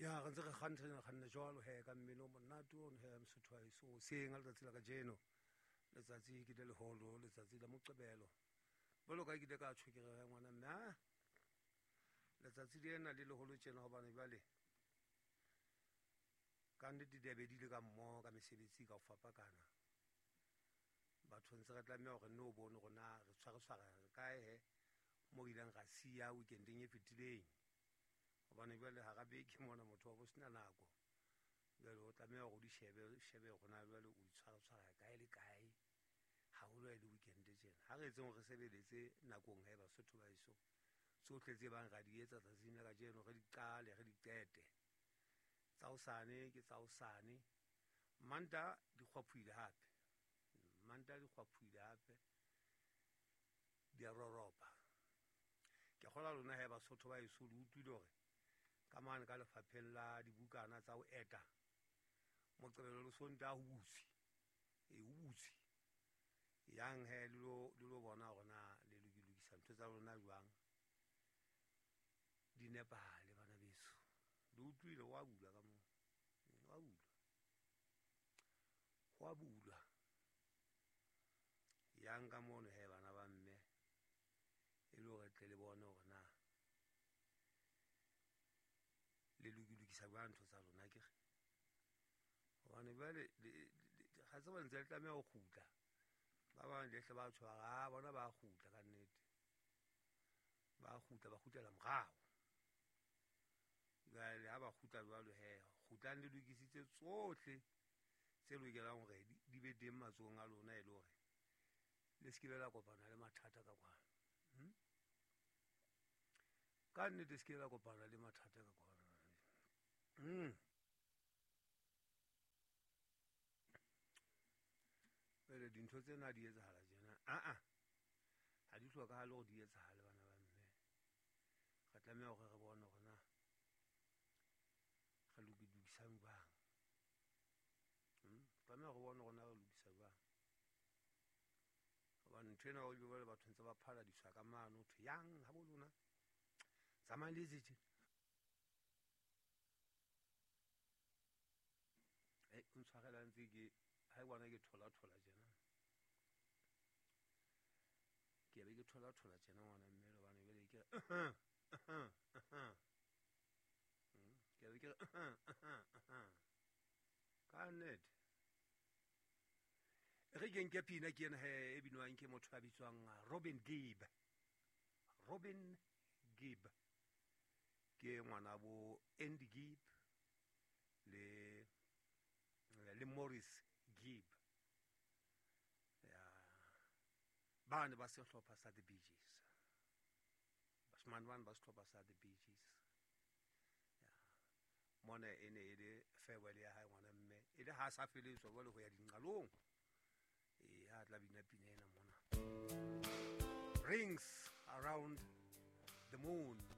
Ya re ntse re kganna kganna jwalo he ka mmino o monate ono he Mosotho wa heso hoseng ka letsatsi la kajeno. Letsatsi ke le leholo, letsatsi la Moqebelo. Jwalo ka ke ile ka tjho ke re ngwana mme a letsatsi lena le leholo tjena hobane jwale ka nnete di be di le ka mmoho ka mesebetsi ka ho fapakana. Batho ntse re tlameha hore nne o bone hore na re tshware tshwara kae he mo re ileng ra siya weekendeng e fetileng. Hobane jwale hara beke mona motho wa bo sena nako. Jwale o tlameha hore o di shebe, shebe hore na jwale o di tshwara tshwara kae le kae. Haholo ha e le weekend tjena. Ha re etseng hore re sebeletse nakong he Basotho ba heso. Tsohle tse bang ra di etsa tsatsing la kajeno re di qale, re di qete. Tsa hosane ke tsa hosane. Manta di kgwaphohile hape. Manta di kgwaphohile hape. Di a roropa. Ke kgolwa lona he Basotho ba heso le utlwile hore ka mane ka lefapheng la dibukana tsa ho eta Moqebelo le Sontaha ho butswe. E ho butswe. Yang he le lo bona hore na le lokisa ntho tsa lona jwang. Di nepahale bana beso. Le utlwile wa bulwa ka moo. Wa bulwa. Wa bulwa. Yang ka mono he bana ba mme e le hore tle le bone hore na le lokisa jwang ntho tsa lona akere. Hobane jwale ga tseba ntse le tlameha ho kgutla. Ba bang le hle ba tshwara, bona ba kgutla ka nnete. Ba kgutla, ba kgutlela morao. Jwale ha ba kgutla jwalo he, kgutlang le lokisitse tsohle tse lokelang hore di be teng matsohong a lona e le hore le se ke la kopana le mathata ka kwano. Ka nnete se ke la kopana le mathata ka kwano. Jwale dintho tsena di etsahala tjena. Aa, ha di hlokahale hore di etsahale bana ba mme. Re tlameha hore re bone hore na re lokisang jwang. Tlameha re bone hore na re lokisa jwang. Hobane ntho ena o jwale batho ntse ba phaladiswa ka mano ho thwe yang ha bo lona. Tsamayang le etse tje. O ntshwarela ntse ke ha e bona ke thola thola tjena. Ke be ke thola thola tjena ngwana mme hobane jwale ke ke be ke ka nnete. Re ke nke pina ke ena he e binwang ke motho a bitswang Robin Gibb. Robin Gibb ke ngwana bo Andy Gibb le Maurice Gibb. Ya bane ba sehlopha sa The Bee Gees. Bashimane bane ba sehlopha sa The Bee Gees. Ya mona e ne e le farewell ya hae ngwana mme e le ha sa feletswa jwale ho ya dinqalong. E ha tla bina pina ena mona. Rings Around the Moon.